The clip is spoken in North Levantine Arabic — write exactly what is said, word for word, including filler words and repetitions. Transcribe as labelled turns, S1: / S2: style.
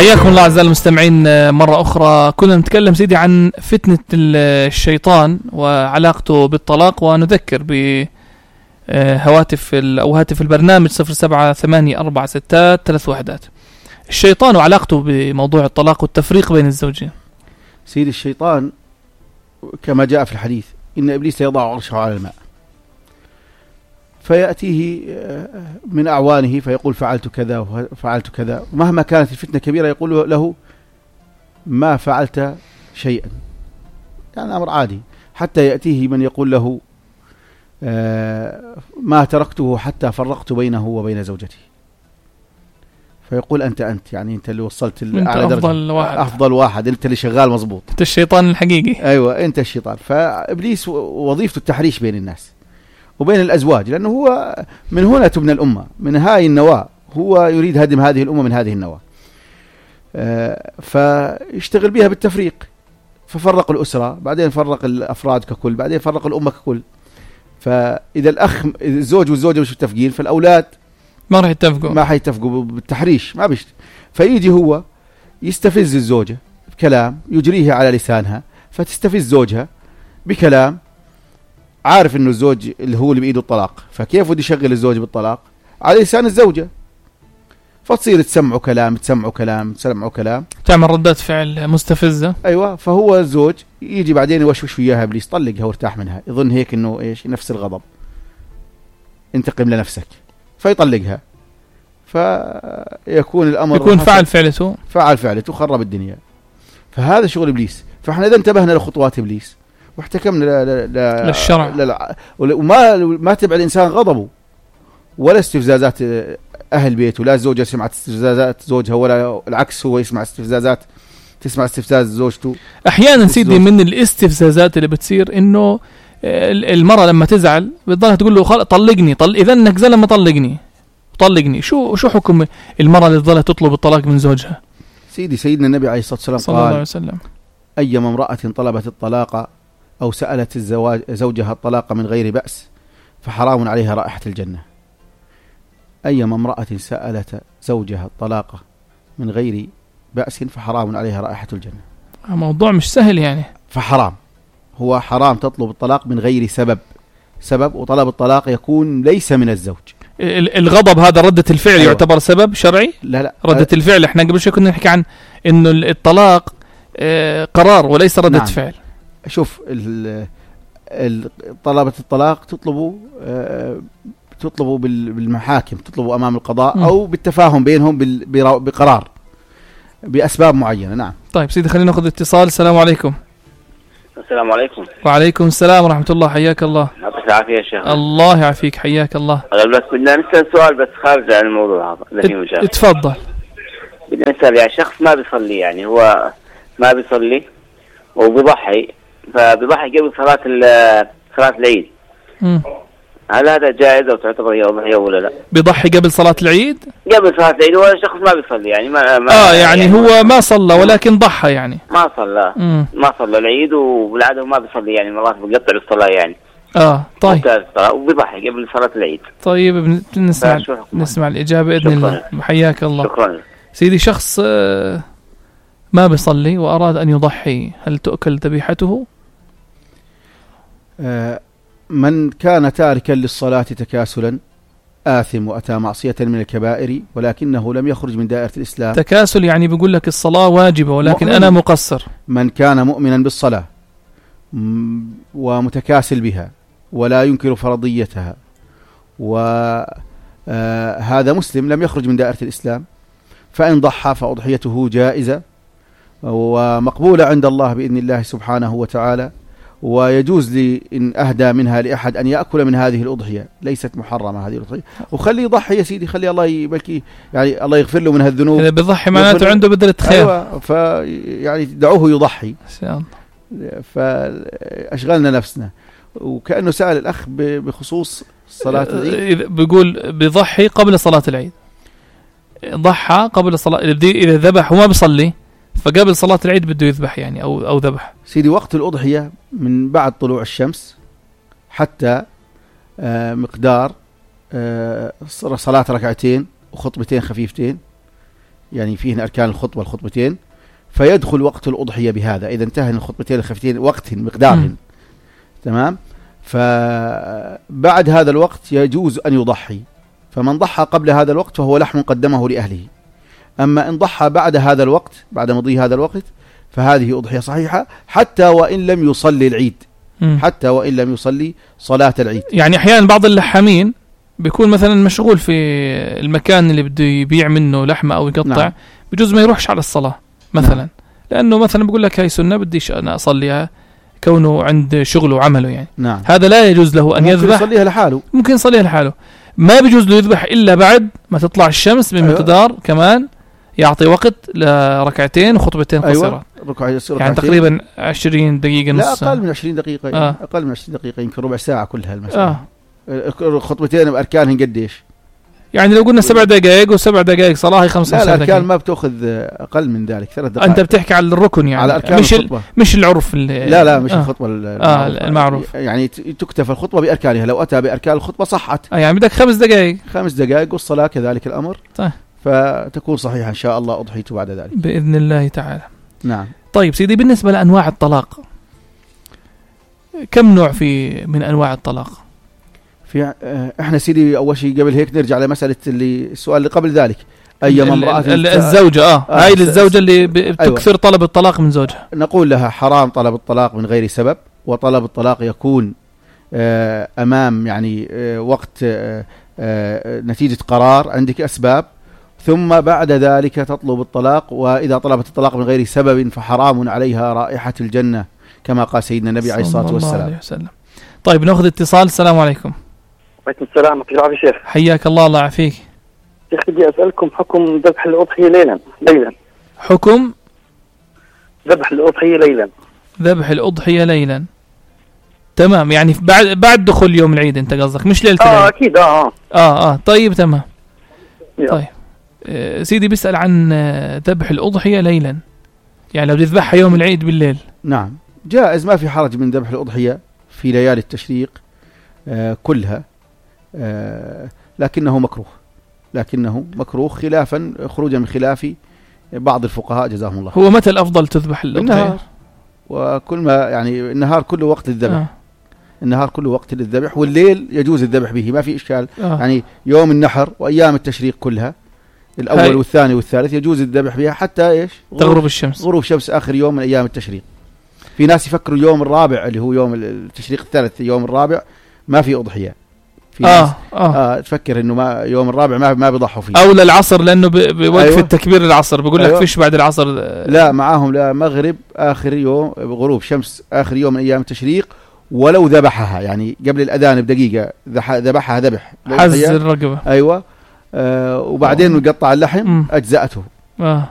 S1: حياكم الله أعزائي المستمعين مرة أخرى. كنا نتكلم سيدي عن فتنة الشيطان وعلاقته بالطلاق، ونذكر بهواتف أو هاتف البرنامج صفر سبعة ثمانية أربعة ستات ثلاث وحدات. الشيطان وعلاقته بموضوع الطلاق والتفريق بين الزوجين.
S2: سيدي الشيطان كما جاء في الحديث إن إبليس يضع عرشه على الماء، فيأتيه من أعوانه فيقول فعلت كذا وفعلت كذا، ومهما كانت الفتنة كبيرة يقول له ما فعلت شيئا، يعني أمر عادي، حتى يأتيه من يقول له ما تركته حتى فرقت بينه وبين زوجتي، فيقول أنت أنت يعني أنت اللي وصلت
S1: أعلى درجة، أفضل واحد
S2: أفضل واحد، أنت اللي شغال مظبوط،
S1: أنت الشيطان الحقيقي.
S2: أيوة أنت الشيطان. فإبليس وظيفته التحريش بين الناس وبين الأزواج، لأنه هو من هنا تبنى الأمة، من هاي النواة، هو يريد هدم هذه الأمة من هذه النواة، آه فيشتغل بها بالتفريق، ففرق الأسرة، بعدين فرق الأفراد ككل، بعدين فرق الأمة ككل. فإذا الأخ الزوج والزوجة مش متفقين، فالأولاد
S1: ما راح يتفقوا
S2: ما راح يتفقوا بالتحريش، ما بيشت. فيجي هو يستفز الزوجة بكلام يجريه على لسانها، فتستفز زوجها بكلام عارف انه الزوج اللي هو اللي بإيده الطلاق، فكيف بده يشغل الزوج بالطلاق على لسان الزوجة، فتصير تسمعوا كلام تسمعوا كلام تسمعوا كلام
S1: تعمل ردات فعل مستفزة.
S2: ايوه. فهو الزوج يجي بعدين يوشوش وياها ابليس، طلقها وارتاح منها، يظن هيك انه ايش نفس الغضب، انتقم لنفسك، فيطلقها، فيكون الامر
S1: يكون فعل فعلته
S2: فعل فعلته خرب الدنيا. فهذا شغل ابليس. فاحنا اذا انتبهنا لخطوات ابليس واحتكمنا ل... ل...
S1: للشرع
S2: ل... وما ما تبع الإنسان غضبه ولا استفزازات أهل بيته، لا الزوجة سمعت استفزازات زوجها ولا العكس، هو يسمع استفزازات تسمع استفزاز زوجته.
S1: أحيانا سيدي من الاستفزازات اللي بتصير إنه المرأة لما تزعل بتضلها تقول له خل... طلقني طل... إذا إنك زلمة طلقني طلقني. شو شو حكم المرأة اللي تضلها تطلب الطلاق من زوجها؟
S2: سيدي سيدنا النبي عليه الصلاة والسلام
S1: صلى الله عليه وسلم
S2: أيما امرأة طلبت الطلاق أو سألت الزواج زوجها الطلاق من غير بأس فحرام عليها رائحة الجنة. أيما امرأة سألت زوجها الطلاق من غير بأس فحرام عليها رائحة الجنة.
S1: موضوع مش سهل يعني،
S2: فحرام، هو حرام تطلب الطلاق من غير سبب سبب وطلب الطلاق يكون ليس من الزوج.
S1: الغضب هذا ردة الفعل. أيوة. يعتبر سبب شرعي؟
S2: لا لا
S1: ردة
S2: أه
S1: الفعل احنا قبل شوي كنا نحكي عن إنه الطلاق قرار وليس ردة
S2: نعم.
S1: فعل.
S2: شوف طلبة الطلاق تطلبوا تطلبوا بالمحاكم، تطلبوا أمام القضاء م. أو بالتفاهم بينهم بقرار بأسباب معينة. نعم.
S1: طيب سيدي خلينا نأخذ اتصال. السلام عليكم.
S3: السلام عليكم.
S1: وعليكم السلام ورحمة الله. حياك الله.
S3: يعطيك العافية يا شيخ.
S1: الله يعافيك. حياك الله.
S3: بس بدنا نسأل سؤال بس خارج عن الموضوع هذا.
S1: اتفضل.
S3: بدنا نسأل يعني شخص ما بيصلي، يعني هو ما بيصلي وبيضحي، فبيضحي قبل صلاة صلاة العيد. مم. هل هذا جائز أو تعتبر هي أضحية ولا لا؟
S1: بيضحي قبل صلاة العيد؟
S3: قبل صلاة العيد، هو شخص ما بيصلي يعني ما, ما
S1: آه يعني, يعني هو ما صلى ولكن ضحى يعني
S3: ما صلى مم. ما صلى العيد وبالعادة ما بيصلي يعني مرات بيقطع الصلاة يعني.
S1: آه طيب.
S3: وبيضحي قبل صلاة العيد.
S1: طيب نسمع نسمع الإجابة بإذن الله. حياك الله.
S3: شكرا.
S1: سيدي شخص ما بيصلي وأراد أن يضحي، هل تؤكل ذبيحته؟
S2: آه من كان تاركا للصلاة تكاسلا آثم وأتى معصية من الكبائر ولكنه لم يخرج من دائرة الإسلام.
S1: تكاسل يعني بيقول لك الصلاة واجبة ولكن أنا مقصر.
S2: من كان مؤمنا بالصلاة ومتكاسل بها ولا ينكر فرضيتها وهذا مسلم لم يخرج من دائرة الإسلام، فإن ضحى فأضحيته جائزة ومقبولة عند الله بإذن الله سبحانه وتعالى، ويجوز لي إن أهدى منها لأحد أن يأكل من هذه الأضحية، ليست محرمة هذه الأضحية، وخلي يضحي يا سيدي، خلي الله يبكي يعني الله يغفر له من هالذنوب.
S1: إذا بيضحي معناته عنده بذرة خير.
S2: أيوة، فيعني دعوه يضحي. فأشغلنا نفسنا. وكأنه سأل الأخ بخصوص صلاة العيد،
S1: بيقول بيضحي قبل صلاة العيد، ضحى قبل صلاة، إذا ذبح وما بيصلي فقبل صلاة العيد بده يذبح يعني أو أو ذبح.
S2: سيدي وقت الأضحية من بعد طلوع الشمس حتى آه مقدار آه صلاة ركعتين وخطبتين خفيفتين يعني فيه أركان الخطبة الخطبتين، فيدخل وقت الأضحية بهذا إذا انتهى الخطبتين الخفتين وقت مقدارهن. تمام. فبعد هذا الوقت يجوز أن يضحي، فمن ضحى قبل هذا الوقت فهو لحم قدمه لأهله. أما إن ضحى بعد هذا الوقت، بعد مضي هذا الوقت، فهذه أضحية صحيحة حتى وإن لم يصلي العيد، حتى وإن لم يصلي صلاة العيد.
S1: يعني أحيانا بعض اللحامين بيكون مثلا مشغول في المكان اللي بده يبيع منه لحمة أو يقطع، نعم. بجوز ما يروحش على الصلاة مثلا، نعم. لأنه مثلا بيقول لك هاي سنة بديش أنا أصليها كونه عند شغله وعمله يعني،
S2: نعم.
S1: هذا لا يجوز له أن يذبح،
S2: ممكن يصليها لحاله،
S1: ممكن يصليها لحاله، ما بيجوز له يذبح إلا بعد ما تطلع الشمس بمقدار، أيوة. كمان يعطي وقت لركعتين وخطبتين قصيرة،
S2: أيوة.
S1: يعني تقريبا عشرين دقيقة، نص،
S2: لا أقل من عشرين دقيقة،
S1: آه.
S2: أقل من عشرين دقيقة، يمكن ربع ساعة كلها المسألة.
S1: آه.
S2: الخطبتين بأركانهن قديش؟
S1: يعني لو قلنا سبع دقائق وسبع دقائق صلاة هي خمسة
S2: لا الأركان ما بتأخذ أقل من ذلك، ثلاث دقائق.
S1: أنت بتحكي على الركن يعني،
S2: على أركان
S1: مش
S2: الخطبة،
S1: مش العرف اللي
S2: لا لا مش
S1: آه.
S2: الخطبة
S1: آه المعروف،
S2: يعني تكتفى الخطبة بأركانها، لو أتى بأركان الخطبة صحت.
S1: آه يعني بدك خمس دقائق،
S2: خمس دقائق والصلاة كذلك الأمر.
S1: طيب.
S2: فتكون صحيحة إن شاء الله أضحيته بعد ذلك
S1: بإذن الله تعالى.
S2: نعم.
S1: طيب سيدي، بالنسبة لأنواع الطلاق، كم نوع في من أنواع الطلاق؟
S2: في احنا سيدي اول شيء قبل هيك نرجع لمساله اللي السؤال اللي قبل ذلك، اي امراه
S1: الزوجه اه, آه هاي الزوجه اللي بتكثر أيوة. طلب الطلاق من زوجها،
S2: نقول لها حرام طلب الطلاق من غير سبب، وطلب الطلاق يكون آه امام يعني آه وقت آه آه نتيجه قرار عندك اسباب، ثم بعد ذلك تطلب الطلاق، واذا طلبت الطلاق من غير سبب فحرام عليها رائحه الجنه كما قال سيدنا النبي عليه الصلاه والسلام.
S1: طيب ناخذ اتصال. السلام عليكم.
S4: وعليكم السلام ورحمة الله وبركاته. شيخ
S1: حياك الله، الله يعافيك.
S4: شيخ بدي أسألكم حكم ذبح الأضحية ليلا ليلا
S1: حكم
S4: ذبح الأضحية ليلا
S1: ذبح الأضحية ليلا تمام، يعني بعد بعد دخول يوم العيد أنت قصدك، مش ليلة
S4: العيد.
S1: اه
S4: أكيد اه اه
S1: اه طيب تمام.
S4: يا.
S1: طيب آه سيدي بيسأل عن آه ذبح الأضحية ليلا، يعني لو تذبحها يوم العيد بالليل.
S2: نعم جائز، ما في حرج من ذبح الأضحية في ليالي التشريق آه كلها، آه لكنه مكروه، لكنه مكروه خلافا خروجا من خلاف بعض الفقهاء جزاهم الله.
S1: هو متى الأفضل تذبح الأضحية؟
S2: النهار، وكل ما يعني النهار كله وقت للذبح. آه. النهار كله وقت للذبح، والليل يجوز الذبح به، ما في إشكال. آه. يعني يوم النحر وأيام التشريق كلها الأول هاي. والثاني والثالث يجوز الذبح بها حتى إيش؟
S1: تغرب الشمس،
S2: غروب شمس آخر يوم من أيام التشريق. في ناس يفكروا اليوم الرابع اللي هو يوم التشريق الثالث، يوم الرابع ما في أضحية. في
S1: آه.
S2: ناس
S1: آه.
S2: آه تفكر إنه ما يوم الرابع ما ما بيضحوا فيه،
S1: أو للعصر لأنه بوقف أيوة. التكبير العصر بيقول
S2: أيوة.
S1: لك فيش بعد العصر.
S2: لا معاهم لا مغرب آخر يوم، غروب شمس آخر يوم من أيام التشريق، ولو ذبحها يعني قبل الأذان بدقيقة ذبحها ذبح
S1: حز الرقبة.
S2: أيوة. آه وبعدين نقطع اللحم أجزأته.
S1: آه.